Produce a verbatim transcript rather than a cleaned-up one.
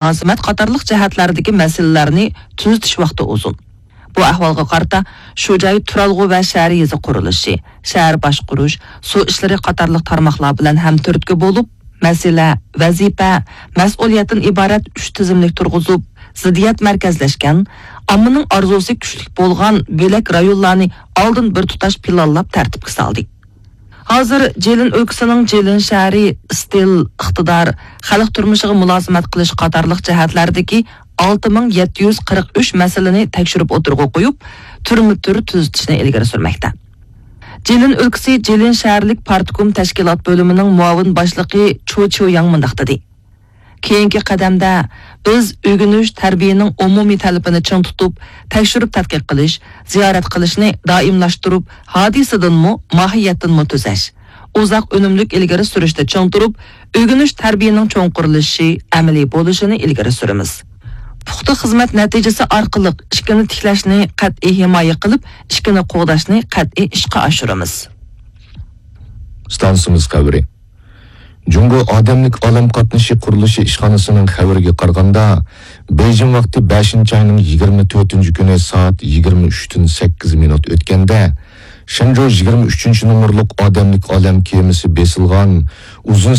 مۇلازىمەت قاتارلىق جەھەتلەردىكى مەسىلىلەرنى تۈزىتىش ۋاقتى ئۇزۇن. بۇ ئەھۋالغا قارىتا، شۇ جاي تۇرالغۇ ۋە شەھەر يېزا قۇرۇلۇشى، شەھەر باشقۇرۇش، سۇ ئىشلىرى قاتارلىق تارماقلار بىلەن ھەمتۈرتكە بولۇپ، مەسىلە، ۋەزىپە، مەسئۇلىيەتتىن ئىبارەت ئۈچ تىزىملىك تۇرغۇزۇپ، زىددىيەت مەركەزلەشكەن، ئاممىنىڭ ئارزۇسى كۈچلۈك بولغان بۆلەك رايونلارنى ئالدىن بىر تۇتاش پىلانلاپ تەرتىپكە سالدى. ھازىر جىلىن ئۆلكىسىنىڭ جىلىن شەھىرى ئىستىل، ئىقتىدار، خەلق تۇرمۇشىغا مۇلازىمەت قىلىش قاتارلىق جەھەتلەردىكى ئالتە مىڭ يەتتە يۈز قىرىق ئۈچ مەسىلىنى تەكشۈرۈپ ئوتتۇرىغا قويۇپ، تۈرمە تۈر تۈزىتىشنى ئىلگىرى سۈرمەكتە. جىلىن ئۆلكىسى جىلىن شەھەرلىك پارتكوم تەشكىلات بۆلۈمىنىڭ مۇئاۋىن باشلىقى چو چيۇياڭ مۇنداق دېدى: كېيىنكى قەدەمدە بىز ئۆگىنىش، تەربىيەنىڭ ئومۇمىي تەلىپىنى چىڭ تۇتۇپ، تەكشۈرۈپ تەتقىق قىلىش، زىيارەت قىلىشنى دائىملاشتۇرۇپ، ھادىسىدىنمۇ، ماھىيەتتىنمۇ تۈزەش، ئۇزاق ئۈنۈملۈك ئىلگىرى سۈرۈشتە چىڭ تۇرۇپ، ئۆگىنىش، تەربىيەنىڭ چوڭقۇرلىشىشى، ئەمەلىي بولۇشىنى ئىلگىرى سۈرىمىز. پۇختا خىزمەت نەتىجىسى ئارقىلىق ئىككىنى تىكلەشنى قەتئىي ھىمايە قىلىپ، ئىككىنى قوغداشنى قەتئىي ئىشقا ئاشۇرىمىز. ئىستانسىمىز خەۋىرى. جۇڭگو ئادەملىك ئالەم قاتنىشى قۇرۇلۇشى ئىشخانىسىنىڭ خەۋىرىگە قارىغاندا، بېيجىڭ ۋاقتى بەشىنچى ئاينىڭ يىگىرمە تۆتىنچى كۈنى سائەت يىگىرمە ئۈچتىن سەككىز مىنۇت ئۆتكەندە، شېنجۇ يىگىرمە ئۈچىنچى نومۇرلۇق ئادەملىك ئالەم كېمىسى بېسىلغان ئۇزۇن